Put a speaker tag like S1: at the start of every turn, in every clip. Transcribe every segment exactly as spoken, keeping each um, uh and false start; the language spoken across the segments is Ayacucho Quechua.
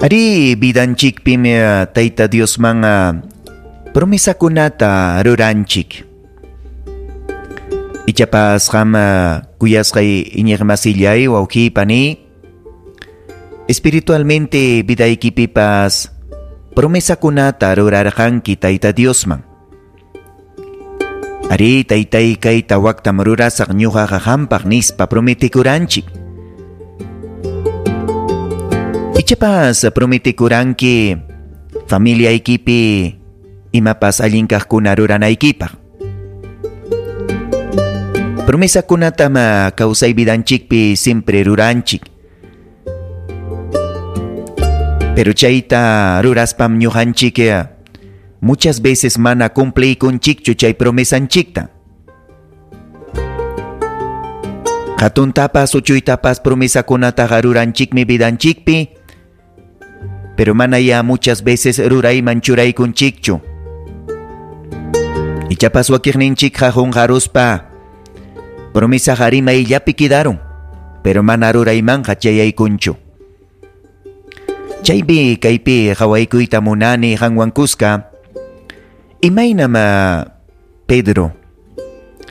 S1: Ari vidanchikpim Tayta Diosman promesakunata ruranchik. Ichapas qam kuyasqay iñiqmasillay wawqi pani, espiritualmente vidaykipipas promesakunata rurarqanki Tayta Diosman. Ari taytay kayta waktam rurasaq ñuqaqa qampaq nispa prometikuranchik. Ichapas prometikuranki familiaykipi imapas allin kaqkuna ruranaykipaq. Promesakunatam kawsay vidanchikpi siempre ruranchik. Pero chayta ruraspam ñuqanchik muchas veces mana cumpliykunchikchu chay promesanchikta. Hatuntapas uchuytapas promesakunataqa ruranchikmi vidanchikpi, pero mana ya muchas veces rurayman churaykunchikchu. Ichapas wakiqninchikqa qunqaruspa promesaqa rimayllapi quedaron, pero mana ruraymanqa chayaykunchu. Chaypi kaypi qawaykuyta munani qanwan kuska. Imaynam Pedro,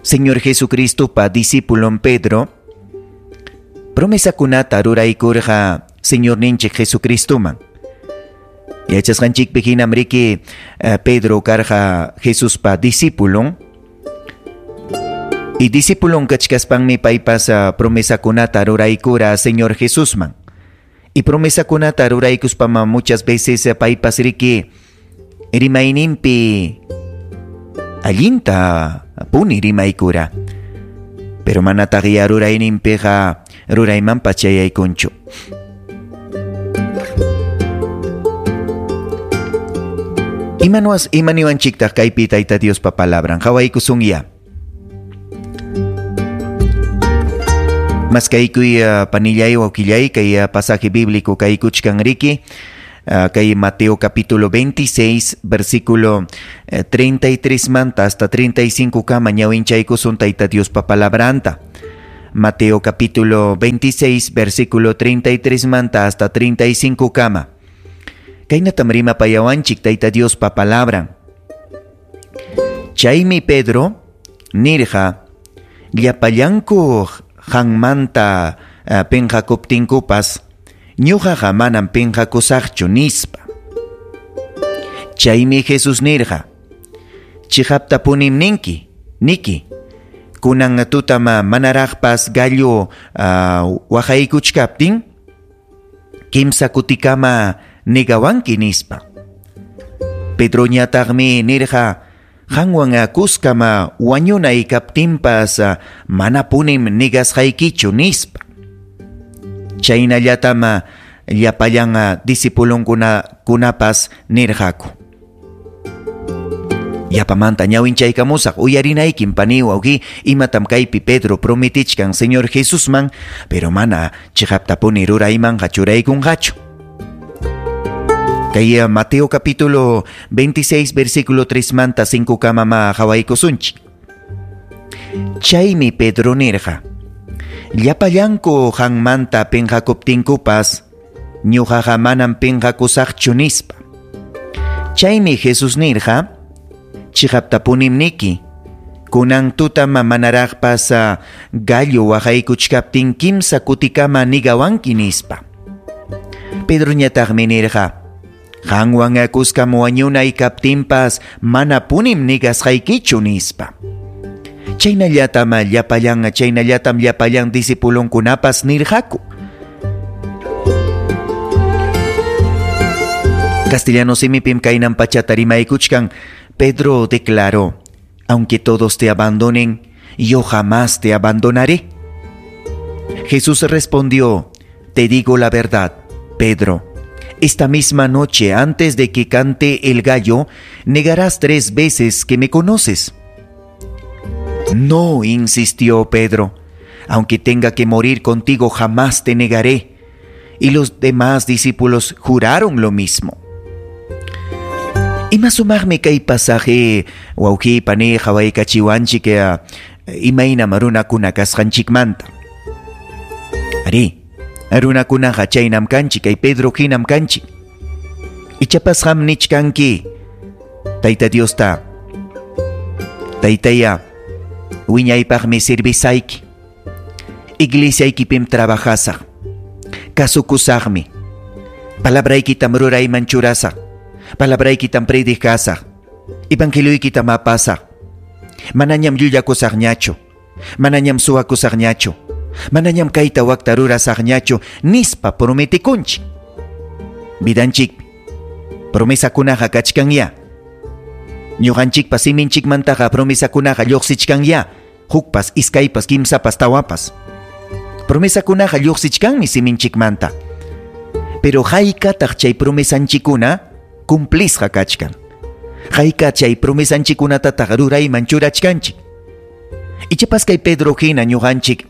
S1: Señor Jesucristopa discípulon Pedro, promesakunata ruraykurqa Señorninchik Jesucristoman. Yachasqanchikpi hinam riki Pedro karqa Jesuspa discípulon. Y discípulon kachkaspanmi paypas promesakunata ruraykura Señor Jesusman. Y promesakunata ruraykuspama muchas veces paypas riki rimayninpi allinta puni rimaykura. Pero manataq ya rurayninpiqa ruraymanpas chayaykunchu. Imanuas imaniwanchiktaq kaypi Tayta Diospa palabran qawaykusunya. Maskaykuy uh, panillay wawqillay kay uh, pasaje bíblico kaykuchkan riki uh, kay Mateo capítulo veintiséis versículo uh, treinta y tres manta hasta treinta y cinco kama ñawinchaykusun Tayta Diospa palabranta. Mateo capítulo veintiséis versículo treinta y tres manta hasta treinta y cinco kama. Kaynatam rimapayawanchik Tayta Diospa palabran. Chaymi Pedro nirqa llapallanku qanmanta uh, pinqakuptinkupas ñuqaqa manam pinqakusaqchu nispa. Chaymi Jesus nirqa chiqaptapunim ninki niki kunan tutam manaraqpas gallo uh, waqaykuchkaptin kimsa kutikama negawanki nispa. Pedroñataqmi nirqa qanwan kuskama wañunay kaptinpas manapunim negasqaykichu nispa. Chaynallatam llapallan discipulonkunapas nirqaku. Yapamanta ñawinchaykamusaq uyarinaykim pani wawqi imatam kaypi Pedro prometichkan Señor Jesusman, pero mana chiqaptapuni ruraymanqa churaykunqachu. Kay Mateo capítulo veintiséis versículo tres manta cinco kama ma qawaykusunchik. Chaymi Pedro nirqa llapallanku qanmanta pinqakuptinkupas ñuqaqa manam pinqakusaqchu nispa. Chaymi Jesus nirqa chiqaptapunim niki kunan tutam manaraqpas gallo waqaykuchkaptin kimsa kutikama nigawanki nispa. Pedroñataqmi nirqa qanwan kuskam wañunay kaptinpas manapunim negasqaykichu nispa. Chaynallatam llapallan chaynallatam llapallan discipulonkunapas nirqaku. Castellano simipim kaynan pachata rimaykuchkan. Pedro declaró: aunque todos te abandonen, yo jamás te abandonaré. Jesús respondió: te digo la verdad, Pedro. Esta misma noche, antes de que cante el gallo, negarás tres veces que me conoces. No, insistió Pedro, aunque tenga que morir contigo, jamás te negaré. Y los demás discípulos juraron lo mismo. Imasumaqmi kay pasaje wawqi pani qawaykachiwanchik imaynam runakuna kasqanchikmanta. Ari, Runakunaqa chaynam kanchik, kay Pedro hinam kanchik. Ichapas qam nichkanki Tayta Diosta, Taytaya, wiñaypaqmi servisayki, iglesiaykipim trabajasaq, kasukusaqmi, palabraykitam rurayman churasaq, palabraykitam predicasaq, evangelioykitam apasaq, manañam llullakusaqñachu, manañam suwakusaqñachu, manañam kayta wakta rurasaqñachu, nispa prometikunchik. Vidanchikpi promesakunaqa kachkanya. Ñuqanchikpa siminchikmantaqa promesakunaqa lluqsichkanya. Hukpas, iskaypas, kimsapas, tawapas. Promesakunaqa lluqsichkanmi siminchikmanta. Pero haykataq chay promesanchikuna cumplisqa kachkan. Hayka chay promesanchikunatataq rurayman churachkanchik. Ichapas kay Pedro hina ñuqanchik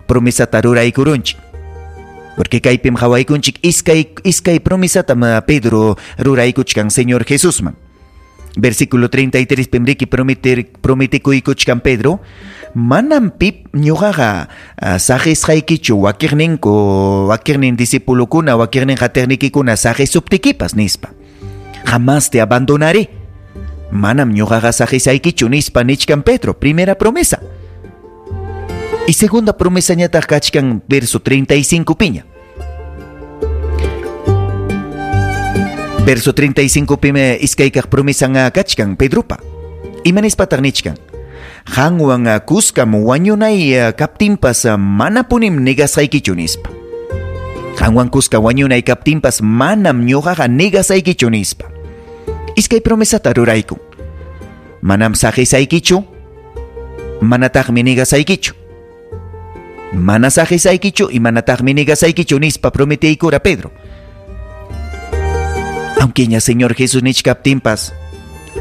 S1: promesata ruraykurunchik. Porque kaypim qhawaykunchik iskay iskay promesatam Pedro ruraykuchkan Señor Jesusman. Versículo treinta y tres pim riki prometer prometikuykuchkan Pedro, manam pip ñuqaqa saqisqaykichu wakiqninku wakiqnin discipulukuna wakiqnin qatiqnikikuna saqisuptikipas nispa. Jamás te abandonaré. Manam ñuqaqa saqisaykichu nispa nichkan Pedro, primera promesa. Y segunda promesa ñataq kachkan verso treinta y cinco piña. Verso treinta y cinco pime iskaykaq promesan kachkan Pedropa. Imanispataq nichkan? Qanwan kuskam wañunay kaptinpas manapunim negasaykichu nispa. Qanwan kuska wañunay kaptinpas manam ñuqaqa negasaykichu nispa. Iskay promesata ruraykun. Manam saqisaykichu, manataqmi negasaykichu. Mana saqisaykichu y manataqmi negasaykichu nispa prometeykura Pedro. Aunque ña Señor Jesús nichkaptinpas,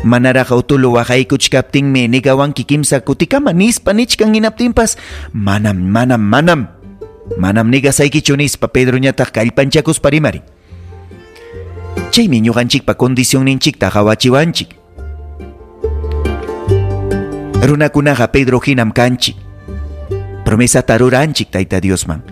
S1: manaraq utulu waqaykuchkaptinmi negawanki kimsa kutikama nispa nichkan hinaptinpas, manam, manam, manam, manam negasaykichu nispa Pedro ñataq kallpanchakuspa rimarin. Chaymi ñuqanchikpa condicionninchikta qawachiwanchik. Runakunaqa Pedro hinam kanchik. Promesata ruranchik Tayta Diosman.